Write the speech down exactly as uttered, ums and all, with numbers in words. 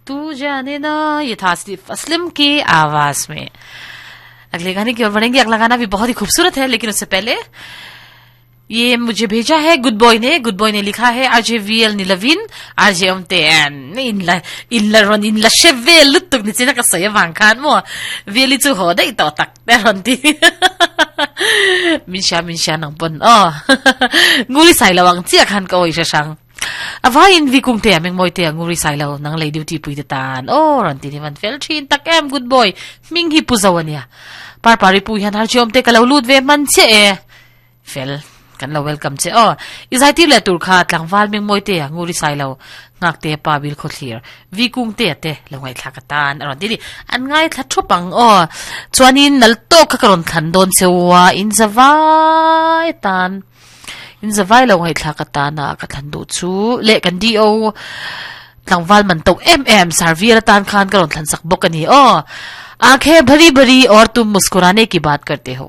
तू जाने ना ये था आसिफ असलम की आवाज में अगले गाने की ओर बढ़ेंगे अगला गाना भी बहुत ही खूबसूरत है लेकिन उससे पहले ये मुझे भेजा है गुड बॉय ने गुड बॉय ने लिखा है RJ VL nilovin RJ omte in la in la ron in la sheve lutuk ni china ka sai wang khan mo VL chu ho dai to tak te ron ti min sha min sha nang pon o nguri sai lawang chia khan ka oi sha sang avain vi kung te ameng moi te nguri sai lo nang lei duty pui te tan o ron ti ni man fel thin tak em good boy ming hi pu zawania par pari pu hian har chom te kalau lut ve man che e fel kan lo welcome che o izai ti le tur kha tlangwal ming moi te nguri sai lo ngak te pa bil kho thlir vi kung te te lo ngai thla ka tan aron ti di an ngai thla thupang o chuanin nal to kha karon thlan don chewa in zawai tan in zawai lo ngai thla ka ta na ka thlan du chu le kan di o tlangwal man to em em sarvir tan khan karon thlan sak bok ani o आंखें भरी भरी और तुम मुस्कुराने की बात करते हो